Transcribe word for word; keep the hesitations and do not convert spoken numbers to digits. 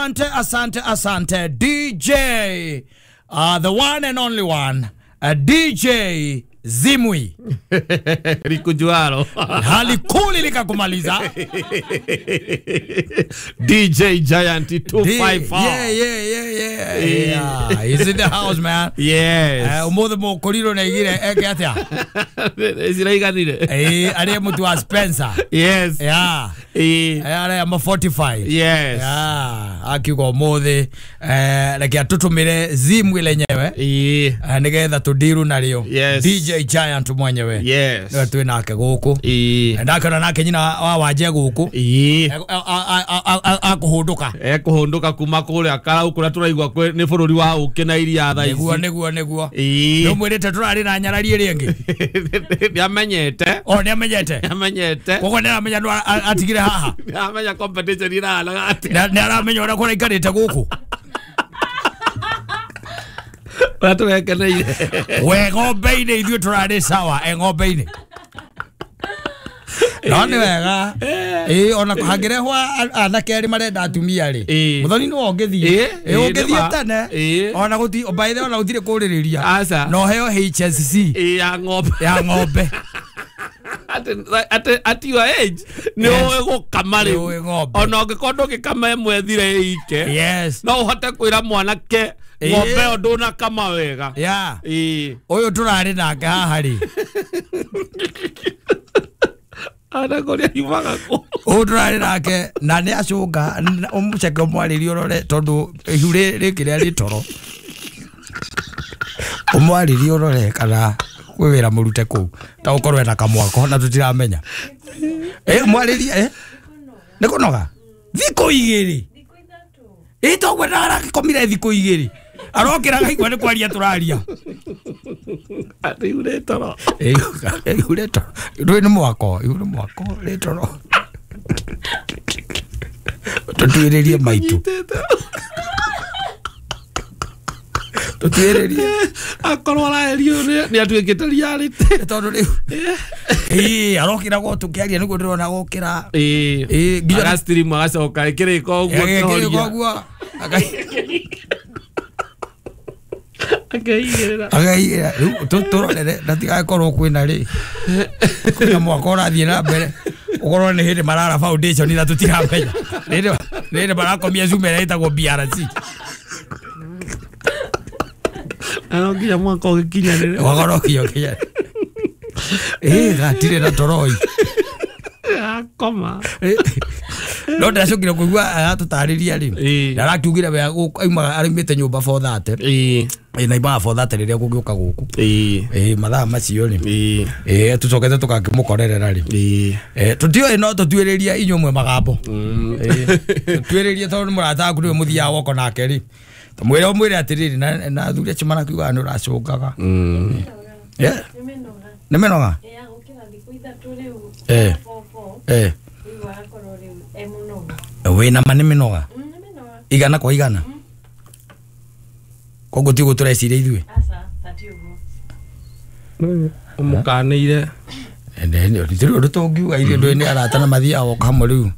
Asante, asante, asante D J, uh, the one and only one, uh, D J Zimwi. Likujualo. Halikuli likakumaliza. D J Giant two five four. Yeah, yeah, yeah, yeah. Yeah. He's in the house, man. Yes. Umuthi mukoriro na igire eke atia. Ziraiganire. Eh, ari mutu wa Spencer. Yes. Yeah. Eh, ari ama forty-five. Yes. Yeah. Akiuga umuthi eh reke atutumire Zimwi lenyewe. Eh, nigetha tudiru nario. Yes. D J Giant mwenyewe. Yes. Niwe twĩ nake gũkũ. Ĩĩ. Ndakĩona nake nyina wa Wanje gũkũ. Ĩĩ. Akũhũndũka. Ekũhũndũka kuma kũrĩa Karau kũrĩa tũraigua nĩ bũrũri wa ũkĩ na iria thaa ici. Nĩguo nĩguo nĩguo. Ĩĩ. Nĩũmwĩrĩte tũrarĩ na nyarari ĩrĩa ĩngĩ. Nĩamenyete. O nĩamenyete. Nĩamenyete. Koguo nĩaramenya nũ atigire haha. Nĩaramenya competition ĩrahanaga atĩa. Nĩaramenya ũrĩa kũraikarĩte gũkũ. Watu wekeneire. We ng'ombe-inĩ ithuĩ tũrarĩ sawa e ng'ombe-inĩ. No nĩ wega. Ĩĩ ona hangĩrehwo anake erĩ marenda atumia rĩ. Mũthoni nĩwe ũngĩthiĩ. Ĩĩ ũngĩthiĩ tene. Ona gũti by the way ona gũtirĩ kũrĩrĩria. Aca. No heo H S C. Ĩĩ ya ng'ombe. Ya ng'ombe. At at at your age nĩ ũĩ gũkama rĩu. Ona ũngĩkorwo ndũngĩkama ĩmwe ĩthire ĩike. Yes. No ũhote kwĩra mwanake ng'ombe ĩyo ndũnakama wega. Yeah. Ĩĩ. Ũyũ tũrarĩ nake haha rĩ. Ana kũrĩa yumaga kũ. Ũyũ tũrarĩ nake na nĩ acũnga ũmũceke ũmwarĩrie ũrore tondũ ihu rĩkĩ rĩa rĩtoro. Ũmwarĩrie ũrore kana kwĩ wĩra mũrute kũu ta ũkorwo ena kamwako na tũtiramenya. Eh mwarĩrie eh nĩ kũnoga thikũ igĩrĩ. Ĩ toguo ndarakomire thikũ igĩrĩ. Arokĩra akaigua nĩ kwaria tũraria. Atĩ ihu rĩtoro. Ihu rĩtoro. Ndũĩ nĩ mwako, ihu nĩ mwako rĩtoro. Tũtuĩrĩrie maitũ. Tũtuĩrĩrie. Akorwo araerio nĩ atuĩkĩte reality. Tondũ rĩu. Ĩĩ arokĩra gwo tũkĩaria nĩguo ndĩrona gũkĩra. Ĩĩ. Ĩĩ nginya agastream agacoka ĩkĩrĩka ũguo kĩhoria. Ũguo. Akeigĩrĩra. Akeigĩrĩra. Rĩu tũrorere na tigakorwo kwĩna rĩ. Kwĩna mwaka ũrathiĩ na mbere. Ũkorwo nĩ hĩndĩ marara foundation na tũtiramenya. Nĩ hĩndĩ marakomia Zoom ĩrĩa ĩtagwo B R C. Ano nginya mwaka ũgĩkinyanĩre. Mwaka ũgĩkinyanĩre. Ĩĩ gatirĩ na toroi. Akoma. No ndacokire kũigua aratũtarĩria rĩ. Ndarakiugire we aumaga arĩmĩte nyũmba four thirty. Ĩĩ. Ĩĩ na imaga four thirty rĩrĩa gũgĩũka gũkũ. Ĩĩ. Ĩĩ mathaa macio rĩ. Ĩĩ. Ĩĩ tũcokete tũgakĩmũkorerera rĩ. Ĩĩ. Ĩĩ tũtiũĩ no tũtuĩrĩrie inyuĩ mwe magambo. Ĩĩ. Tũtuĩrĩrie tondũ nĩ mũrata waku nĩwe mũthiaga woko nake rĩ. Mwĩre ũmwĩre atĩrĩrĩ na na athuri acio marakiugaga nĩ ũracũngaga. Yeah. Nĩ mĩnoga? Eh. Eh. Wĩna ma nĩ mĩnoga? Igana kwa igana? Koguo ti ũguo tũreciria ithuĩ? Ũmũkanĩire. Ndirĩ ũndũ tũngiuga ithuĩ ndũĩ nĩ arata na mathiaga woka hamwe rĩu.